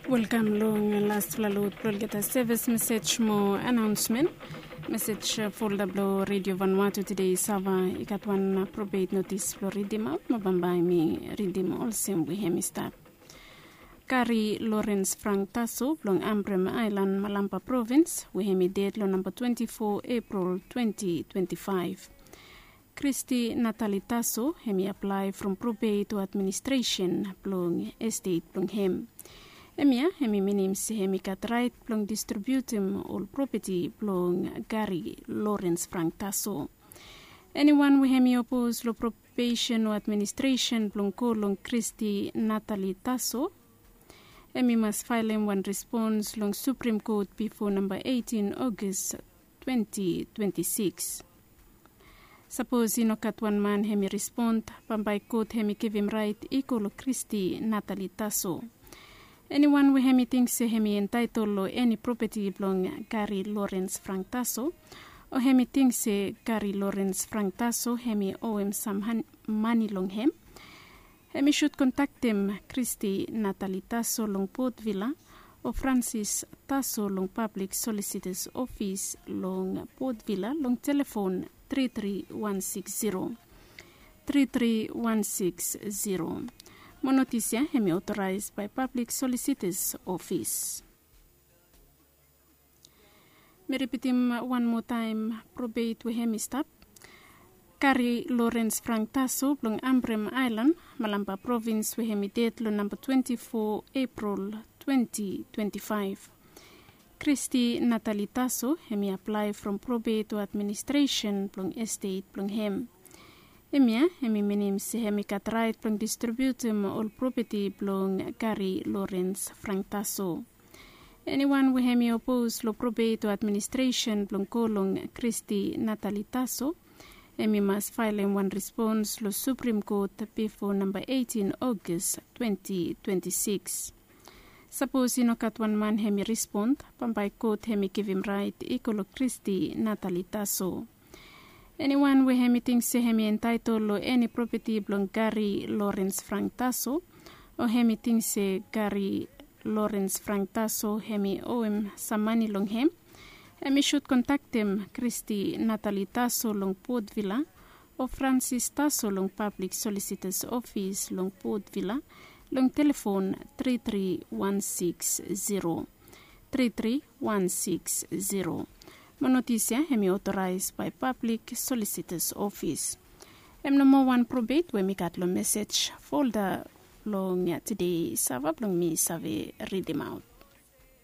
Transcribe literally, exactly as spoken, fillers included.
Welkam long lastfala lot blong olgeta sevis mesej mo anaonsmen. Mesej folda blong redio vanua tu tede i sava i gat wan probet notis blong ridimaot mo bambae mi ridim olsem we hem i stap. Kari Lorens Frank Taso blong Ambrem Ailan, Malampa provins, we hem i ded long namba twenti fo Epril twenti twenti faef. Kristi Natali Taso hem i aplae from probet o administresen blong estet blong hem. Hemia hem i minim se hem i gat raet blong distribiutim ol propeti blong Kari Lorens Frank Taso. Eniwan we hem i opos long probesen o administresen blong go long Kristi Natali Taso, hem i mas faelem wan respons long Suprim Kot bifo namba eitin Ogos twenti twenti sikis. Sapos i no gat wan man hem i respon, bambae kot hem i givim raet i go long Kristi Natali Taso. Eniwan we hem i ting se hem i entaetol long eni propeti blong Kari Lorens Frank Taso, o hem i ting se Kari Lorens Frank Taso hem i owem sam mane long hem, hem i sud kontaktem Kristi Natali Taso long Potvila o Fransis Taso long Pablik Solisitas Ofis long Potvila long telefon tri tri wan sikis ziro, tri tri wan sikis ziro. Mo notis ya hem i otoraes bae Pablik Solisitas Ofis. Mi ripitim wan moa taem probet we hem i stap. Kari Lorens Frank Taso blong Ambrem Ailan, Malampa provins, we hem i ded long namba twenti fo Epril twenti twenti faef. Kristi Natali Taso hem i aplae from probet o administresen blong estet blong hem. Hemia hem i minim se hem i gat raet blong distribiutim ol propeti blong Kari Lorens Frank Taso. Eniwan we hem i opos long probet o administresen blong go long Kristi Natali Taso, hem i mas faelem wan respons long Suprim Kot bifo namba eitin Ogos twenti twenti sikis. Sapos i no gat wan man hem i respon, bambae kot hem i givim raet i go long Kristi Natali Taso. Eniwan we hem i ting se hem i entaetol long eni propeti blong Kari Lorens Frank Taso, o hem i ting se Kari Lorens Frank Taso hem i owem sam mane long hem, hem i sud kontaktem Kristi Natali Taso long Potvila o Fransis Taso long Pablik Solisitas Ofis long Potvila long telefon tri tri wan sikis ziro, tri tri wan sikis ziro. Mo notis ya hem i otoraes bae Pablik Solisitas Ofis. Hem nomo wan probet we mi gat long mesej folda blong tede sava blong mi save ridimaot.